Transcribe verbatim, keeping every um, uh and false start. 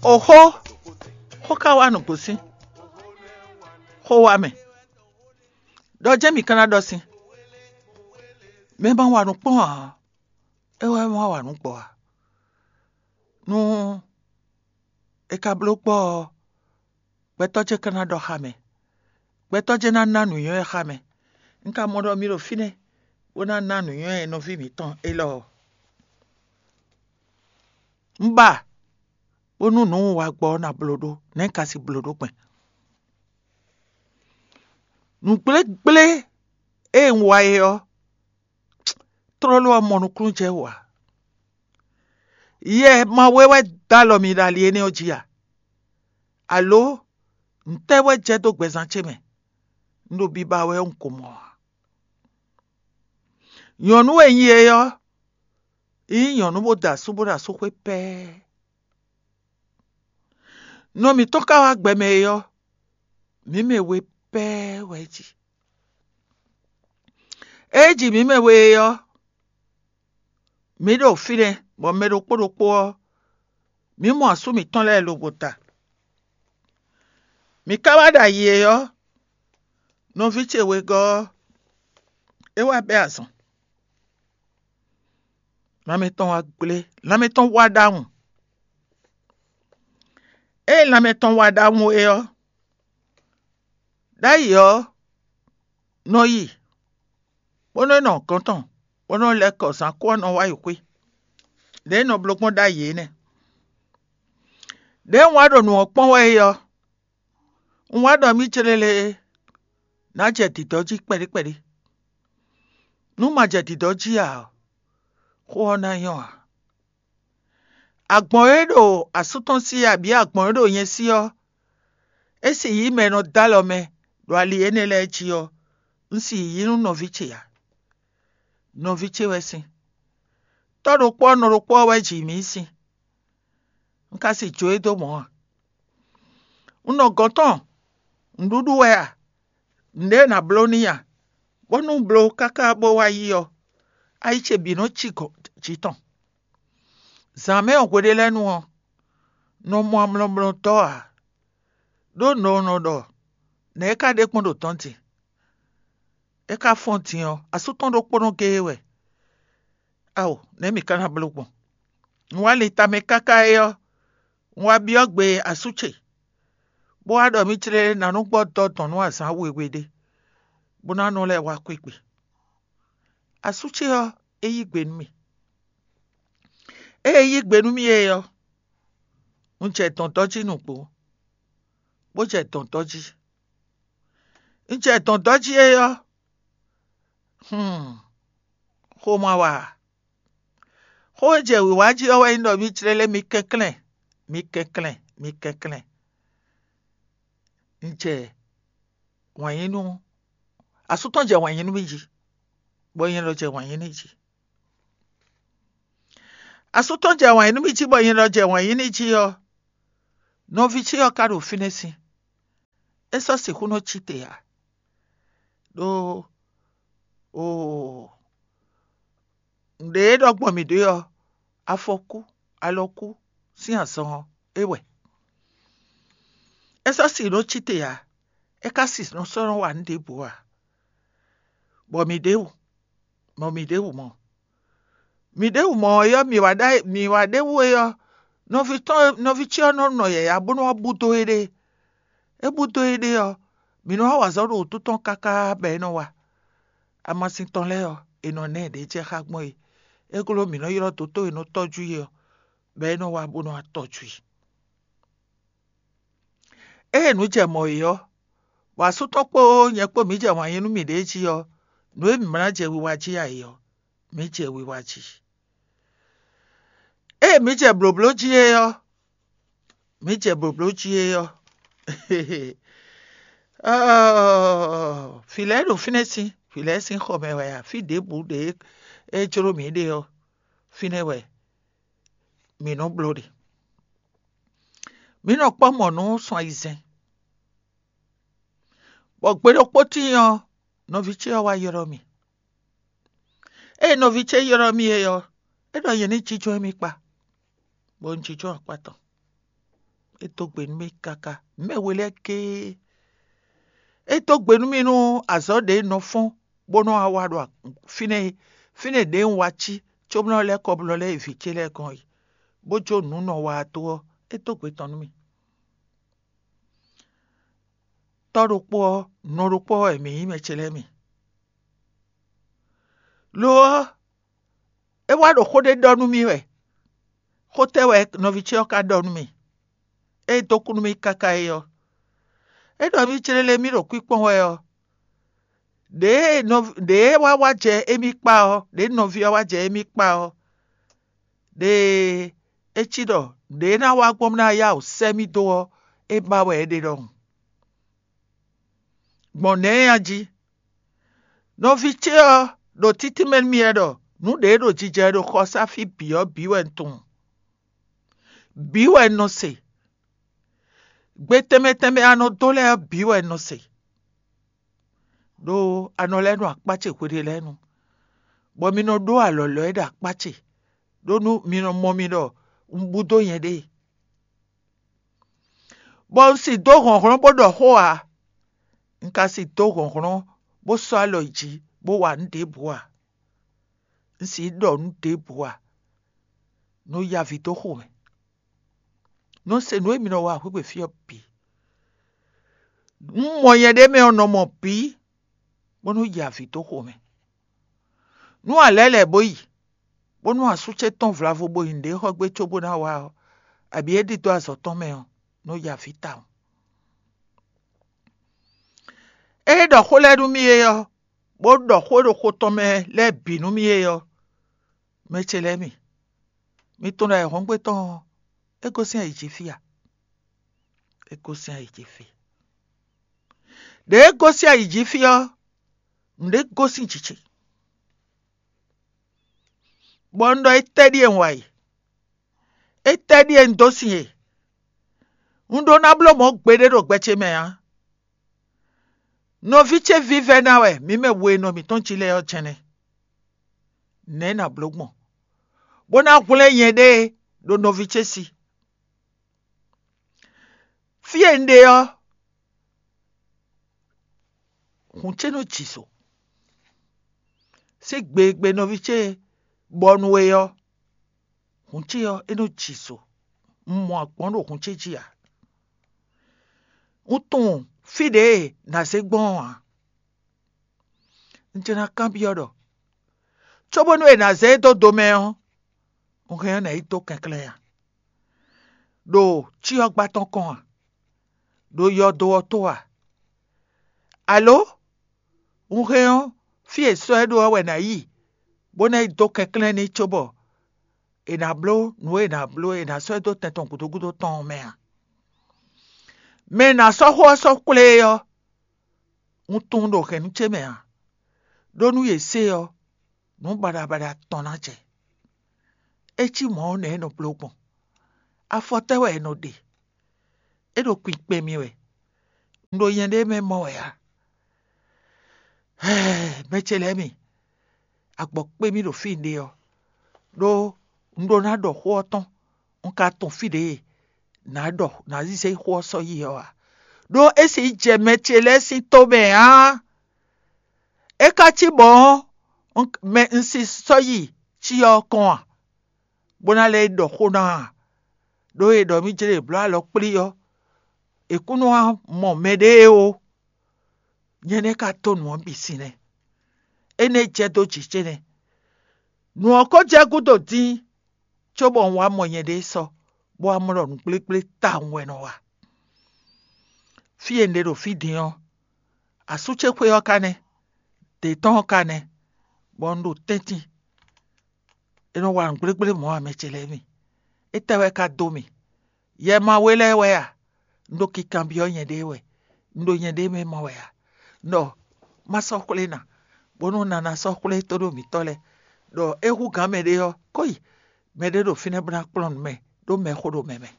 Oxó, xó ka wá nǔgbó sín xó wá mɛ. Ɖɔ jɛ́n mǐ ka ná ɖɔ sín. Mɛ ma wa nǔ kpɔ́n ǎ, é wɛ ma wa nǔ gbɔ ǎ. Nú è ka bló gbɔ ɔ́, gbɛtɔ́ ce ka ná ɖɔ xá mɛ. Gbɛtɔ́ ce ná ná nǔnywɛ́ xá mɛ. Un ka mɔ ɖɔ mi ɖo fínɛ́ bó ná ná nǔnywɛ́ nɔví mǐtɔn élɔ́ ɔ́. Un ba bónú nǔ un wa gbɔ ɔ́ ná bló ɖó, nɛ̌ un ka si bló ɖó gbɛn? Nǔgblégblé e un wa é ɔ́, tlóló ɔ́ mɔ nukúnnú jɛ wú ǎ. Yɛ ma wɛ wɛ dó alɔ mi ɖo ali énɛ́ ɔ́ jí a? Alo ntɛ́ wɛ jɛ dó gbɛzán ce mɛ? Un ɖo biba wɛ un ko mɔ ǎ. Nyɔ̌nu e nyí é ɔ́, é nyí nyɔ̌nu bó da asú bó ɖo asúxwé pɛ́ɛ́. Nɔ mǐtɔn ka wá gbɛ mɛ é ɔ́, mǐ mɛ we pɛ́ɛ́ wɛ é ji. Ée é ji mǐ mɛ we é ɔ́, mǐ ɖo fínɛ́, bɔ mɛ ɖokpó ɖokpó ɔ́, mǐ mɔ asú mǐtɔn lɛ́ɛ lobo ta. Mǐ ka wá ɖo ayǐ é ɔ́, nɔví ce wegɔ́ ɔ́, é wá bɛ́ azɔn. Lanmɛ tɔn wá gblé, lanmɛ tɔn wá ɖ'awun. Ée lanmɛ tɔn wá ɖ'awun é ɔ́, ɖ'ayǐ ɔ́ nɔ yi, bó nɔ́ nɔ gɔ̌n tɔn, bó nɔ́ lɛ́ kɔ zǎn kú ɔ́ nɔ wá yi xwé. Lě e nɔ bló gbɔn ɖ'ayǐ é nɛ́. Đěe un wá ɖo nǔ ɔ́ kpɔ́n wɛ é ɔ́, un wá ɖɔ mì célélé ná jɛ dǐdɔ́ jí kpɛɖé kpɛɖé. Nú ma jɛ dǐdɔ́ jí ǎ ɔ́, xó ɔ́ ná nyɔ́ ǎ. Agbɔ̌n e ɖo asú tɔn sí abǐ agbɔ̌n e ɖo nyɛ sí ɔ́, é si yí mɛ e nɔ dó alɔ mɛ ɖo ali énɛ́ lɛ́ɛ jí ɔ́, un si yí nú nɔví ce ǎ. Nɔví ce wɛ sin. Tɔ́ ɖokpó ɔ́ nɔ ɖokpó ɔ́ wɛ ji mǐ sin. Un ka si jó e dó mɔ̌ ǎ. Un nɔ gɔ̌n tɔn nǔɖuɖu wɛ a? Nǔɖé nǎ bló n'i a? Bónú un bló káká bó wá yi ɔ́, ayi ce bǐ nɔ cí gɔ̌n jǐ tɔn. Zǎn mɛ ɔ́ hweɖé lɛ́ɛ nu ɔ́, nɔ mɔ amlɔmlɔ dɔ́ ǎ, ɖó nɔ nɔ ɖɔ nɛ̌ é ka ɖe kpɔ́n ɖo dɔ̌n din? É ka fɔ́n din ɔ́, asú tɔn ɖokpónɔ géé wɛ. Ao, nɛ̌ mǐ ka ná bló gbɔn? Un wá lin tamɛ káká é ɔ́, un wá byɔ́ gbe asú ce, bó wá ɖɔ mì clé ná nú gbɔ dɔ́ dɔn nú azǎn wěwé ɖé, bó ná nɔ lɛ́ wá xwé gbe. Asú ce ɔ́, é yí gbe nú mì. Ée é yí gbe nú mì é ɔ́, un jɛ dɔ̌ndɔ́ jí nǔgbó, bó jɛ dɔ̌ndɔ́ jí. Un jɛ dɔ̌ndɔ́ jí é ɔ́, hmm, xó ma wa ǎ. Xó e jɛ wǐwá jí ɔ́ wɛ nyí ɖɔ mì clélé mi kɛnklɛ́n, mi kɛnklɛ́n, mi kɛnklɛ́n. Un jɛ wǎn yí nú asú tɔn jɛ wǎn yí nú mì jí, bɔ nyɛ lɔ jɛ wǎn yí n'i jí. Asú tɔn jɛ wǎn yí nú mì jí, bɔ nyɛ lɔ jɛ wǎn yí n'i jí ɔ́, nɔví ce ɔ́ ka ɖo fínɛ́ sin. É sɔ́ sixú nɔ cí te ǎ. Ɖó oo, nǔɖé e ɖɔ gbɔn mǐ ɖe ɔ́, afɔkú, alɔkú sín azɔn ɔ́, é wɛ. É sɔ́ si nɔ cí te ǎ. É ka si nɔ sɔ́ nɔ wa nǔ ɖěbǔ ǎ. Bɔ mǐ ɖěbǔ, bɔ mǐ ɖěbǔ mɔ. Mǐ ɖěbǔ mɔ ɔ́, mǐ wá ɖa mǐ wá ɖěbǔ é ɔ́, nɔví tɔn nɔví ce ɔ́ nɔ nɔ yǎyá bó nɔ́ wá búdó éɖée. É búdó éɖée ɔ́, mǐ nɔ́ wá wa azɔ̌ ɖo wǔtu tɔn káká bɔ é nɔ wa. Amasin tɔn lɛ́ɛ ɔ́, è nɔ ná ɛ ɖě jɛ xá gbɔn é. É glɔ́ mǐ nɔ́ ylɔ́ dotó e nɔ tɔ́jú i ɔ́, bɔ é nɔ wá bó nɔ́ wá tɔ́jú i. Ée nǔ jɛ mɔ̌ é ɔ́, bɔ asú tɔn kpó nyɛ kpó mǐ jɛ wǎn yí nú mǐɖée jí ɔ́, nǔ e mǐ ma ná jɛ wiwa jí ǎ é ɔ́, mǐ jɛ wiwa jí. Ée mǐ jɛ blǒbló jí é ɔ́, mǐ jɛ blǒbló jí é ɔ́, ɔ́, fǐ lɛ́ɛ ɖo fínɛ́ sín, fǐ lɛ́ɛ sín xɔ mɛ wɛ ǎ, fí ɖěbǔ ɖě é jló mǐ ɖe ɔ́, fínɛ́ wɛ mǐ nɔ bló ɖe. Mǐ nɔ kpɔ́ mɔ̌ nú sun ayizɛ́n, bɔ gbe ɖokpó tíin ɔ́, nɔví ce ɔ́ wá ylɔ́ mì. Ée nɔví ce ylɔ́ mì é ɔ́, é ɖɔ nyɛ ní jínjɔ́n émí kpa, bɔ un jínjɔ́n akpá tɔn. É dó gbe nú mì káká. Mɛ we lɛ́ɛ géé. É dó gbe nú mì nú azɔ̌ ɖě un nɔ fɔ́n bó nɔ́ wá wa ɖo fínɛ́ é. Fínɛ́ ɖě un wá cí cóbó nɔ́ lɛ́ kɔ bó nɔ́ lɛ́ yi vǐ ce lɛ́ɛ gɔ́n é, bó jó nǔ nɔ wa dó ɔ́, é dó gbe tɔn nú mì. Tɔ́ ɖokpó ɔ́, nɔ ɖokpó ɔ́ wɛ mǐ nyí mɛ ce lɛ́ɛ mi. Lo ɔ́, é wá ɖo xó ɖé ɖɔ nú mì wɛ. Xó tɛ́ wɛ nɔví ce ɔ́ ka ɖɔ nú mì? É dó kú nú mì káká é ɔ́, é ɖɔ mì célélé mì ɖo kwíkpɔ́n wɛ ɔ́, ɖěe nɔ ɖěe wá wá jɛ émí kpá ɔ́, ɖěe nɔví ɔ́ wá jɛ émí kpá ɔ́, ɖěe é cí ɖɔ ɖěe ná wá gbɔn ná yá wǔ sɛ́ mì dó ɔ́, é ba wɛ é ɖe ɖɔhun. Gbɔn nɛ̌ a jí? Nɔví ce ɔ́ ɖo títínmɛ nú mì wɛ ɖɔ nǔ ɖě ɖo jijɛ ɖo xɔsáfí bǐ ɔ́ bǐ wɛ un tunwun. Bǐ wɛ un nɔ se. Gbe tɛnmɛ tɛnmɛ a nɔ dó lɛ́ɛ ɔ́ bǐ wɛ un nɔ se. Ɖó a nɔ lɛ́ nɔ akpá ce hweɖé lɛ́ɛ nu, bɔ mi nɔ ɖó alɔ̌lɔ́ e ɖo akpá ce, ɖó nú mi nɔ mɔ mi ɖɔ un búdó nyɛɖée. Bɔ un si dó hlɔ̌nhlɔ́n bó ɖɔ xó ǎ. Un ka si dó hlɔ̌nhlɔ́n bó sɔ́ alɔ yi jǐ bó wa nǔ ɖěbǔ ǎ. Un si ɖɔ nǔ ɖěbǔ ǎ. Nɔ ya avǐ dó xo mɛ. Nɔ se nǔ e mi nɔ wa hwéhwe fí ɔ́ bǐ. Un mɔ nyɛ ɖ'é mɛ ɔ́ nɔ mɔ bǐ, bónú yi avǐ dó xo mɛ. Nú a lɛ̌ lɛ̌ bó yi, bónú asú ce tɔ́n vlavo bo nyi nǔɖé xɔ gbé cóbó ná wá ɔ́, abǐ é ɖidó azɔ̌ tɔn mɛ ɔ́, nɔ yi avǐ tawun. Ée ɖɔ xó lɛ́ɛ nú mì é ɔ́, bó ɖɔ xó e ɖo xo tɔn mɛ lɛ́ɛ bǐ nú mì é ɔ́, mɛ ce lɛ́ɛ mi, mi tunwun ɖɔ ayǐhɔ́ngbe tɔn ɔ́, é gosín ayǐ jí fí a? É gosín ayǐ jí fí. Ɖěe é gosín ayǐ jí fí ɔ́, nǔɖé gosín jǐ ce. Bɔ un ɖɔ étɛ́ ɖíe un wa e? Étɛ́ ɖíe un dó sin e? Un ɖó ná bló mɔ̌ gbeɖé ɖo gbɛ ce mɛ ǎ. Nɔví ce vívɛ́ ná wɛ mǐ mɛ we e nɔ mǐtɔn jí lɛ́ɛ ɔ́ jɛ́n nɛ́. Nɛ̌ nǎ bló gbɔn, bó ná hwlɛ́n nyɛɖée ɖo nɔví ce sí? Fí e un ɖe ɔ́, hǔn ce nɔ ji zo. Sín gbe e gbe nɔví ce bɔ nú we ɔ́, hǔn ce ɔ́, é nɔ ji zo. Un mɔ agbɔ̌n ɖo hǔn ce jí ǎ. Un tunwun fí ɖě e nǎ zé gbɔn ɔ́ ǎ. Un jɛ ná kanbyɔ́ ɖɔ, cóbónú è nǎ zé e dó do mɛ ɔ́, un hɛn ɔ́ nǎ yi dó kɛnklɛ́n a? Ɖo cyɔ́gbá tɔn kɔn a? Ɖo yɔdo ɔ́ tó a? Alo un hɛn ɔ́, fí e sɔ́ ɛ ɖó ɔ́ wɛ nǎ yi, bó ná yi dó kɛnklɛ́n n'i cóbɔ è nǎ bló nǔ e è nǎ bló e è nǎ sɔ́ ɛ dó tɛn tɔn gǔdo gúdo tɔn ɔ́ mɛ a? Mɛ e nǎ sɔ́ xó ɔ́ sɔ́ kplé é ɔ́, un tunwun ɖo hɛ̌nnu ce mɛ ǎ, ɖó nú yě se ɔ́, nǔ baɖabaɖa tɔn ná jɛ. É cí mɔ̌ ɔ́, nɛ̌ è nɔ bló gbɔn? Afɔ tɛ́ wɛ è nɔ ɖe? É ɖo kpinkpɛn mì wɛ. Un ɖo nyɛɖée mɛ mɔ wɛ ǎ. Mɛ ce lɛ́ɛ mi, agbɔ̌ kpé mì ɖo fí un ɖe ɔ́, ɖó un ɖó ná ɖɔ xó ɔ́ tɔn, un ka tunwun fí ɖě nǎ ɖɔ nǎ zízɛ xó ɔ́ sɔ́ yi ɔ́ ǎ. Ɖó é sixú jɛ mɛ ce lɛ́ɛ sín tó mɛ ǎ. É ka cí mɔ̌ ɔ́, un si sɔ́ yi cyɔ ɔ́ kɔn a, bó ná lɛ́ yi ɖɔ xó ná a? Ɖó è ɖɔ mì jlé è blǒ alɔ kplí ɔ́, è kún nɔ wá mɔ mɛɖée ó. Nyɛ nɛ́ ka dó nǔ ɔ́ bǐ sin nɛ́. Énɛ́ jɛ dó jǐ ce nɛ́. Nǔ ɔ́ ko jɛ gúdo dín, cóbɔ un wá mɔ nyɛɖée sɔ́, bó wá mɔ ɖɔ nǔgblégblé tawun wɛ nɔ wa. Fí e un ɖe ɖo fí din ɔ́, asú ce xwé ɔ́ ka nɛ́, dě tɔn ɔ́ ka nɛ́, bɔ un ɖo tɛ́ntin. É nɔ wa nǔgblégblé mɔ̌ ǎ, mɛ ce lɛ́ɛ mi. Étɛ́ wɛ ka dó mì? Yɛ ma we lɛ́ɛ wɛ a? Un ɖo kikanbyɔ́ nyɛɖée wɛ, un ɖo nyɛɖée mɛ mɔ wɛ a? Ɖɔ má sɔ́ xwlé ná, bónú un ná ná sɔ́ xwlé tóɖó mǐtɔn lɛ́ɛ, ɖɔ é hú gǎn mɛɖé ɔ́, kó yi mɛɖé ɖo fínɛ́ bó ná kplɔ́n nǔ mɛ, ɖó mɛxó ɖo mɛ mɛ.